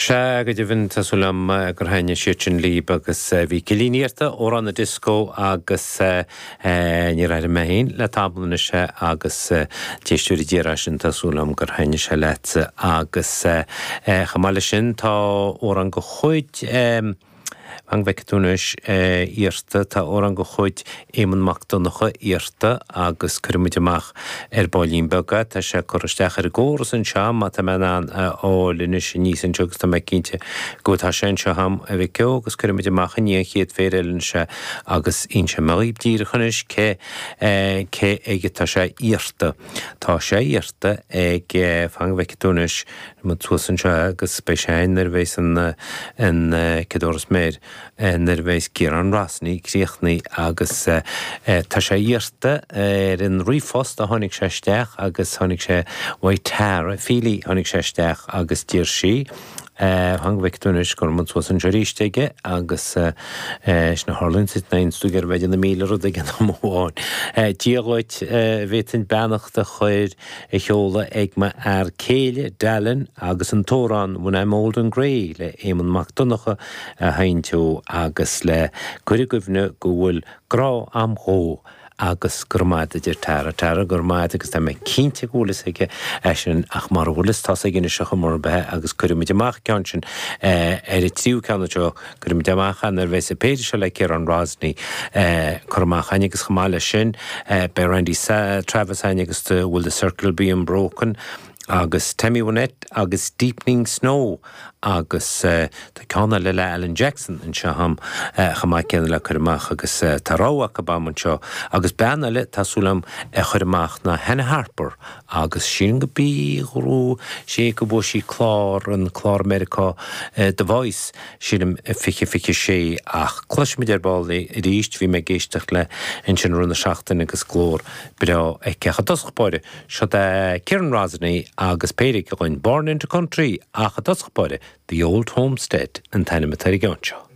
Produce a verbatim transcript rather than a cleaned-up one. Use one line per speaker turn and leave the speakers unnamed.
Sea, go deimhin, tá súil agam gur thaitnigh siad sin libh agus bhí Cillín iarrta, Amhrán na Disco agus níor airigh mé féin le tamall anois é agus d'éisteoirí d'iarr é sin, tá súil agam gur thaitnigh sé leatsa agus chomh maith leis sin tá amhrán de chuid Fan go bhfeicfidh tú anois iarrta, tá amhrán de chuid Éamonn Mac Donncha iarrta agus cuirfidh muid amach ar baillín beag é. Tá sé curtha isteach ar an gcóras anseo má tá mé in ann a fháil anois aníos anseo agus tá mé cinnte go tá sé anseo agam a mhic ó agus cuirfidh muid amach i ndiaidh an chéad phéire eile anois é agus inseoidh mé dhaoibh díreach anois cé cé aige tá sé iarrta. Tá sé iarrta ag fan go bhfeicfidh tú anois muid suas anseo agus beidh sé nuair a bheas an an chéad sméar nuair a bheas Ciarán Rosney críochnaithe agus tá sé iarrta ar an ríomhphost a tháinig sé isteach agus tháinig sé uaidh Tara Feely tháinig sé isteach agus d'iarr sí fan go bhfeicfidh tú anois go raibh muid suas anseo arís aige agus sin a tharlaíonn duit nuair a tú ag iarraidh bheith ag déanamh míle rud ag an am amháin. Dia dhuit, bhféadfainn beannacht a chur a sheoladh ag m'fhear céile, Dallin, agus an t-amhrán When I'm Old and Grey le Éamonn Mac Donncha a sheinnt dó agus le cur i gcuimhne go bhfuil grá a'm dhó agus go raibh maith a deir Tara. Tara, go raibh maith agus tá mé cinnte go bhfuil fhios aige é sin ach mura bhfuil fhios tá's aige anois ar chuma ar bith agus cuirfimid amach ceann sin ar an tríú ceann anseo, cuirfimid amach é nuair a bheas an péire seo le Ciarán Rosney curtha amach againn agus chomh maith leis sin beidh Randy Travis againn agus Will the Circle Be Unbroken agus Tammy Wynette agus Deepening Snow agus tá ceann eile le Alan Jackson anseo agam chomh maith céanna le cur amach agus tá rogha acu agam anseo agus bean eile tá súil agam a chur amach ná Hannah Harper agus sílim go bí ghrú sé go bhfuair sí clár an clár Meiriceá The Voice sílim fiche fiche sé ach cloisfimid ar ball arís bhí mé ag éisteacht léi ansin i rith na seachtaine agus glór breá aici. Ach i dtosach báire seo é Ciarán Rosney agus péire aige againn Born into Country ach i dtosach báire The Old Homestead an t-ainm atá ar an gceann seo.